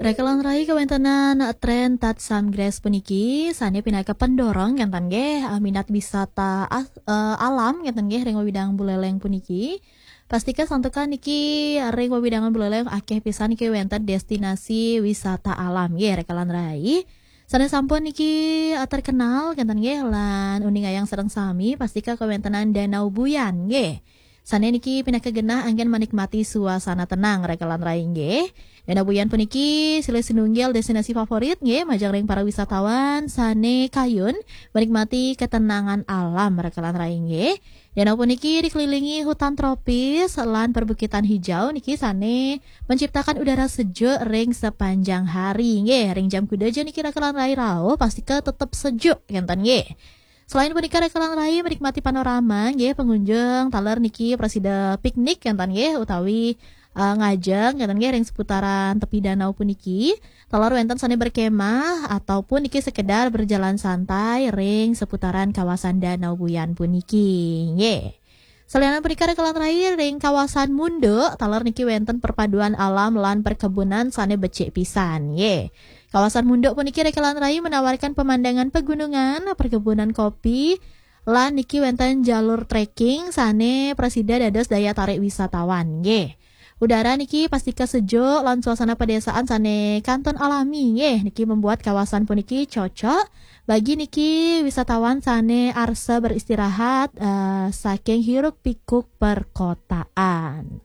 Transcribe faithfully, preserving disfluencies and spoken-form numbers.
Rekelan rai, kawéntenan tren Tatsam Grass puniki sané pinaka pendorong kénten nggih, eh, minat wisata as- eh, alam kénten nggih ring wewidangan Buléléng puniki. Pastika santukan niki ring wewidangan Buléléng akéh pisan niki wénten destinasi wisata alam nggih, rekelan rai. Sané sampun niki, eh, terkenal kénten nggih lan uningayang sareng sami, pastika kawéntenan Danau Buyan nggih. Sané niki pinaka genah anggén manikmati suasana tenang, rekelan rai nggih. Danau Buyan puniki silih sinunggil destinasi favorit nggih majeng ring para wisatawan sané kayun menikmati ketenangan alam, rekelan rai nggih. Danau puniki dikelilingi hutan tropis lan perbukitan hijau niki sané menciptakan udara sejuk ring sepanjang hari nggih. Ring jam kuda ja niki, rekelan rai rauh, pastika tetep sejuk kénten nggih. Selain punika, rekelan rai menikmati panorama nggih, pengunjung taler niki prasida piknik kénten nggih, utawi, eh, ngajeng kénten nggih ring seputaran tepi danau puniki. Taler wénten sané berkemah ataupun niki sekedar berjalan santai ring seputaran kawasan Danau Buyan puniki nggih. Salianan punika, rekelan rai, ring kawasan Munduk taler niki wénten perpaduan alam lan perkebunan sané becik pisan nggih. Kawasan Munduk puniki, rekelan rai, menawarkan pemandangan pegunungan, perkebunan kopi, lan niki wénten jalur trekking sané prasida dados daya tarik wisatawan nggih. Udara niki pastika sejuk lan suasana pedesaan sané kantun alami nggih, niki membuat kawasan puniki cocok bagi niki wisatawan sané arsa beristirahat, eh, saking hiruk pikuk perkotaan.